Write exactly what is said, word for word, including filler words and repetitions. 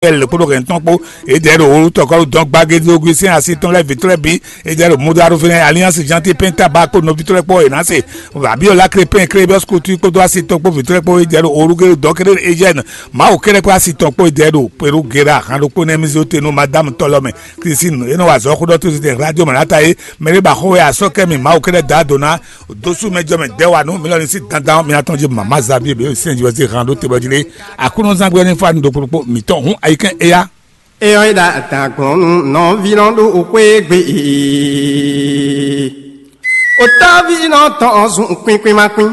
L kpódó hɛn tɔn kpó. Edɛɛ ɖo wolo tɔkɔlu dɔn gbagédógún sín asi tɔn lɛ́ɛ vǐtɔ́ lɛ́ɛ bǐ. Edɛɛ ɖo mudaru fɛnɛ alliance janti penta ba kpó nɔví tɔn lɛ́ɛ kpó e ná se. Abiyɔla krepɛn krébɔs kutu kpódó asi tɔn kpó vǐtɔ́ lɛ́ɛ kpó. Edɛɛ ɖo olugélu dɔn kéré ejɛn mawu kéré kpó asi tɔn kpó. Edɛɛ ɖo peru gera han ɖokpó nɛ mizi tɛnu madame tɔlɔ mɛ. Kristin e nɔ wa azɔ̌ xó ɖɔ tó zitɛn radio mɛ lata e mɛ ɖé ba xó wɛ asɔkɛ mi mawu kéré da do ná. Dosú mɛ jɔ mɛ dɛwa nú mi lɔ ní sí dandan mi atɔn jí mama zabi be sɛn jí wɛ sí han ɖó te bɔ jí lé. Aklúnɔzán gbé ní fa ní ɖokpó ɖokpó mǐtɔn hún ayikɛn éya. Eyɔ́ é ɖa dǎgbɔn nú nɔví nɔ ɖo xwé gbe. Otɔ́ví nɔ tɔn zun kwín kwín má kwín.